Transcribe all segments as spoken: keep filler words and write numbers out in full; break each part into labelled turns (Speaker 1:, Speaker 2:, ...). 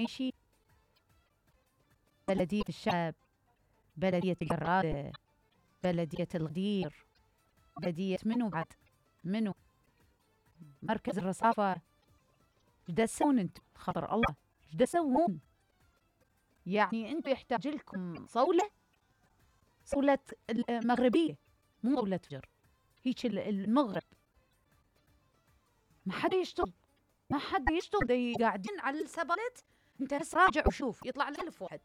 Speaker 1: المعيشي، بلدية الشعب، بلدية الجرادة، بلدية الغدير، بلدية منو بعد منو مركز الرصافة. ايش دا تسوون انتم خطر الله؟ ايش دا تسوون؟ يعني انتم يحتاج لكم صولة، صولة المغربية مو صولة فجر، هيك المغرب. ما حدا يشتغل، ما حدا يشتغل، دي قاعدين على السبلت. انت بس راجع وشوف يطلع لك ألف واحد،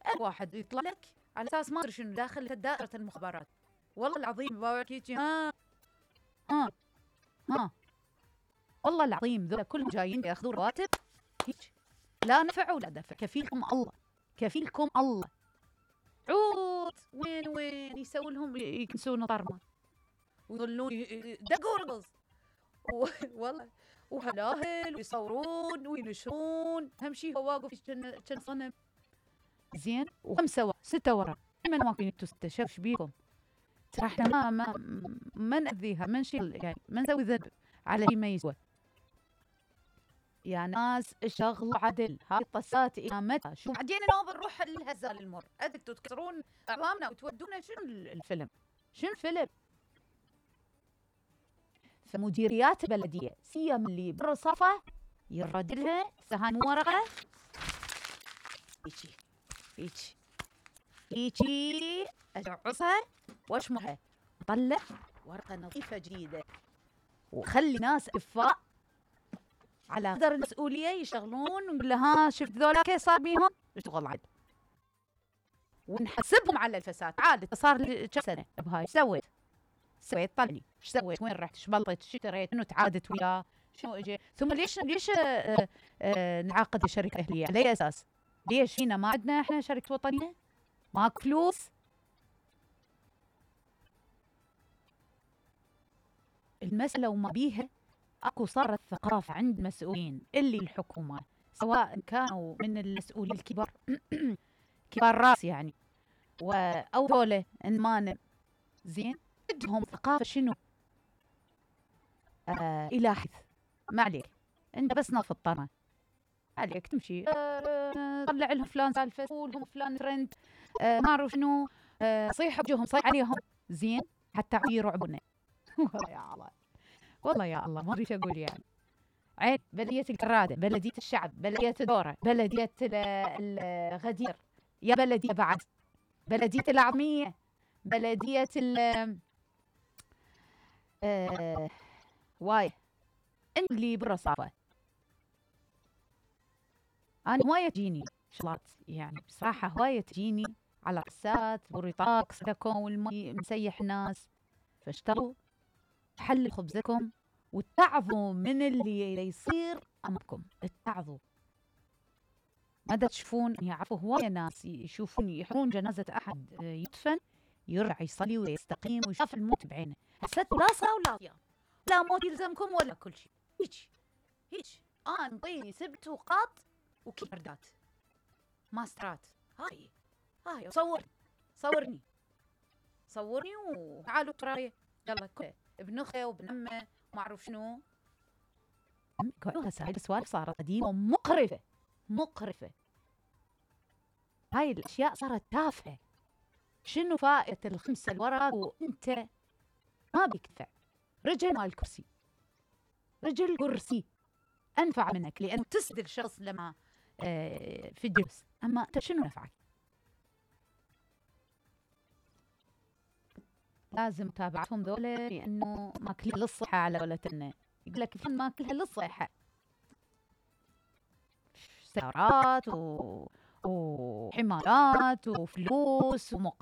Speaker 1: ألف واحد يطلع لك على اساس ما ادري شنو داخل دائرة المخابرات. والله العظيم باوعدك ها ها ها والله العظيم ذولا كلهم جايين ياخذون رواتب هيك، لا نفع ولا دفع. كفيلكم الله، كفيلكم الله. عود وين وين يسوون لهم يكنسون طرمه ويظلون دقوا رقص والله، وهلاهل ويصورون وينشرون. اهم شيء هو واقف كان صنم زين. وخمسه ورا سته ورا، من واقفين انتوا سته؟ شوف بيكم ترى احنا ما ما ما نأذيها، ما نشيل يعني ما نسوي ذنب على شيء ما يسوى. يا ناس اشتغلوا عدل، هاي الطسات الى متى؟ شو بعدين نوب نروح الهزال المر، انتوا تكسرون اعظامنا وتودونا. شنو الفيلم؟ شنو الفيلم؟ فمديريات البلديه سيما اللي بالرصافه يرد لها سهان ورقه هيجي هيجي هيجي ادعسها واشمرها وطلع ورقه نظيفه جديده، وخلي ناس كفاء على قدر المسؤوليه يشتغلون. ونقول له ها شفت ذولا كيف صار بيهم؟ اشتغل عدل ونحسبهم على الفساد. عاد صار لي كم سنه بهاي، ايش سويت؟ سويت طلني ايش سويت؟ وين رحت؟ ايش بلطت؟ ايش اشتريت؟ شنو تعادت وياه؟ شنو اجى؟ ثم ليش ليش آآ آآ نعاقد شركه اهليه؟ على اي اساس؟ ليش فينا ما عندنا احنا شركه وطنيه؟ ماكو فلوس؟ المساله وما بيها اكو صارت ثقافه عند المسؤولين اللي الحكومه، سواء كانوا من المسؤولين الكبار كبار راس يعني، او ذولا انمانه زين، عندهم ثقافه شنو؟ آه الى حد ما عليك انت بس ناف الطرمه عليك تمشي آه طلع لهم فلان سالفه، قول لهم فلان ترند، آه ما اعرف شنو، آه صيح بوجههم صيح عليهم زين حتى يرعبونا. والله يا الله، والله يا الله ما ادري ايش اقول يعني. عين بلديه الجراده، بلديه الشعب، بلديه الدوره، بلديه الغدير، يا بلديه بعد بلديه العظميه، بلديه ال آه واي اللي بالرصافه. انا هوايه تجيني شغلات يعني بصراحه، هوايه تجيني على رصات ورطاق صدقكم والمي مسيح الناس. فاشتغلوا حلوا خبزكم واتعظوا من اللي يصير امامكم، اتعظوا. ما دا تشوفون يعرفوا هوايه ناس يشوفون يحرون جنازه احد يدفن يرجع يصلي ويستقيم ويشاف الموت بعينه. حسيت لا صلاة ولا صيام، لا موت يلزمكم ولا كل شيء. هيك هيك انا انطيني سبت وقاط وكيبردات ماسترات. هاي هاي صور صورني صورني وتعالوا تراي يلا كله ابن اخي وابن عمه ما اعرف شنو. هسه هاي السوالف صارت قديمه ومقرفه مقرفه. هاي الاشياء صارت تافهه. شنو فائده الخمسه الورق وانت ما بيكفع؟ رجل مال الكرسي، رجل كرسي انفع منك لان تسد الشخص لما آه في الجلس، اما انت شنو نفعك؟ لازم متابعتهم ذولا لانه ماكلين للصحه على قولتنا، يقول لك فن ماكلها للصحه، سيارات و... وحمارات وفلوس ومق